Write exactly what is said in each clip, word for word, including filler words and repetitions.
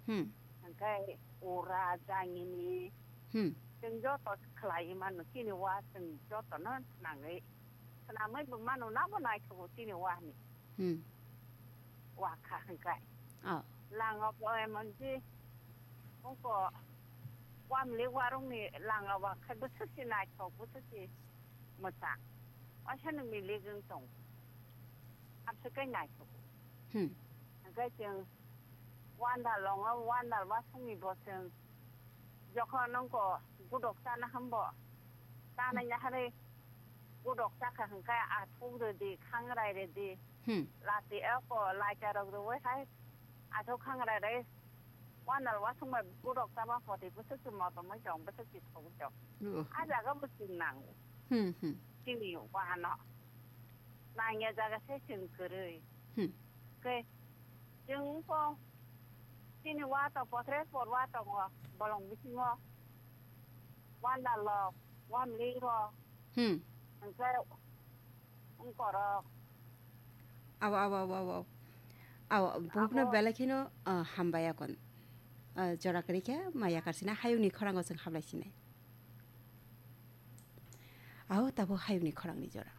Hmm. Hwnkhe ura jangini Hmm. chwng joto khlai mano chini wa chwng jotono swnamwi. Swnamwi bo mano nabo naithogo chini wani. Hmm. Wa kha hwnkhe. Oh. Langa bo emonji ungko wamli warungni langa wa khe bwswkse naithok bwswkse mwchang. Waisa nwng milik wng tong. Amswk khe naithok. Hmm. Hwnkhe chwng wanda longo, wanda wasungni bo chwng jokhon nongko gudok chana hambo. Chana Hmm. yaharwi gudok chakha hwnkhe athuk rwdi, khangrai rwdi. Hmm. Lati eko laita rok rwui hai athuk khangrai rwi wanda wasung bai gudok chama poti bwswk se motom wng tong, bwswk se thok wng tong. Oh. A jaga bo chwng nango. Hmm, hmm. Chini wahano. Nangya jaga se chwng kwrwi. Hmm. Khe chwng wngkho chini wa to pothre por wa tongo bolong bisingo wanda lok wamli rok Hmm. hwnkhe wngkorok. Aw, aw, aw, aw, aw. Aw, buhukno Abo belai kheno, ah, hambai akon. Ah, jora kwrwi khe maya karsina hayungni khorango chwng hablai sinai. Aw, tabo hayungni khorangni jora.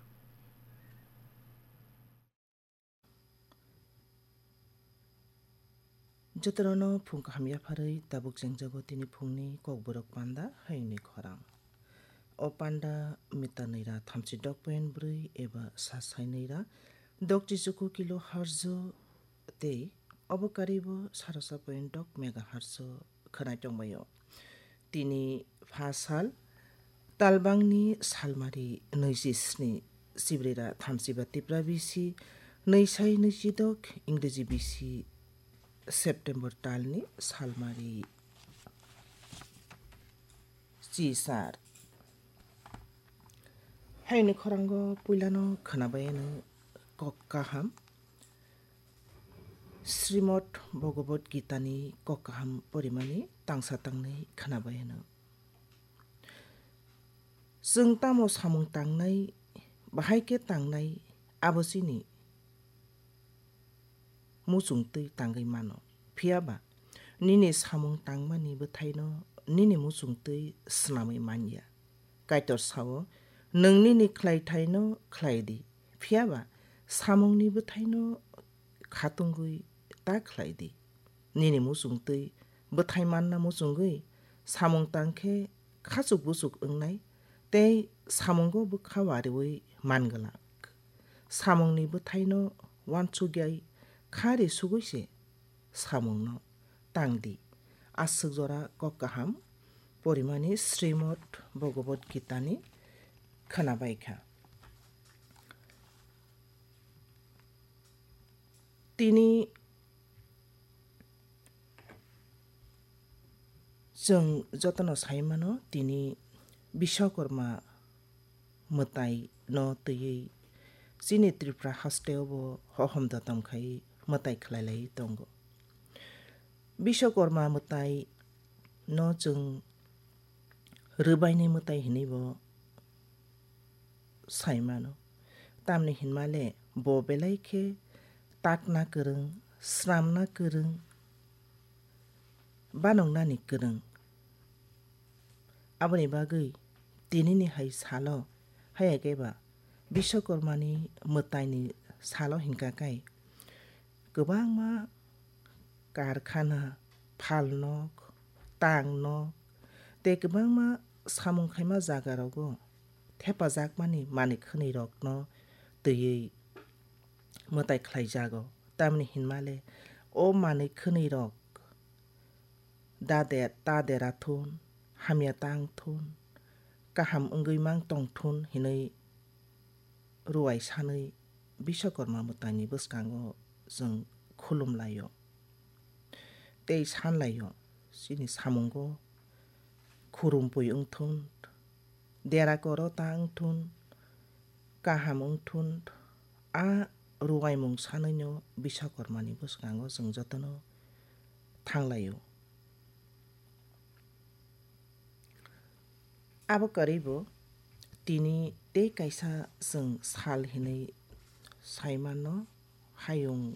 Jotono phung kaham yapharwi tabuk chengjago tini phungni kokborok panda hayungni khorang. O panda mita nwi ra thamchi dok point bwrwi eba sa sai nwi ra dok chichuku kilo harjo tei obo karibo sarasa point dok megahertz o khwnai tongbaio. Tini pha sal talbangni salmari nwi chi sni, Sibrira thamchiba Tipra bisi nwi sai nwi chi dok, Ingreji bisi September talni salmari chi sar. Hayungni khorango puilano khwnabai ano kok kaham. Srimad Bhagavad Gita ni kok kaham porimani tangsa tangnwi khwnabai ano. Chwng tamo samung tangnai, bahai khe tangnai, abo chini muchungtwi tangwi mano. Phiya ba, nini samung tangmani bwthaino nini muchungtwi swnamwi man ya. Kaitor sao, "Nwng nini khlaithaino khlai di, phiya ba samungni bwthaino khatungwi ta khlai di." Nini muchungtwi bwthai manna muchungwi samung tang khe khachuk buchuk wngnai tei samungo bwkha wariwi man glak. Samungni bwthaino uansukjai kha ri sugwi se samungno tang di. Aswk jora kok kaham porimani Srimad Bhagavad Gita ni khwnabai kha. Tini chwng jotono sai mano, tini Biswakarma mwtai no twiwi chini Tripura haste o bo hohom dotom khai mwtai khlai lai tongo. Biswakarma mwtai no chwng rwbaini mwtai hinwi bo sai mano. Tamni hinmale bo belai khe takna kwrwng, sramna kwrwng, banongnani kwrwng. Aboni bagwi tinini hai salo, haya khe ba Biswakarmani mwtaini salo hinkha khe kwbangma karkhana, phalnok, tangnok tei kwbangma samung khaima jagarogo thepajakmani manwi khwnwirokno twiwi mwtai khlaijago. Tamni hinmale o manwi khwnwirok da de-, ta dera thun, hamya tang thun, kaham wngwi mang tong thun hinwi ruwai sanwi Biswakarma mwtaini bwskango chwng khulum laio tei san laio, chini samungo khurumpui wng thun, dera koro ta wng thun, kaham wng thun, a ruwaimung sanwino Biswakarmani bwskango chwng jotono thang laio. Abo kwrwi bo tini tei kaisa chwng sal hinwi sai mano, hayung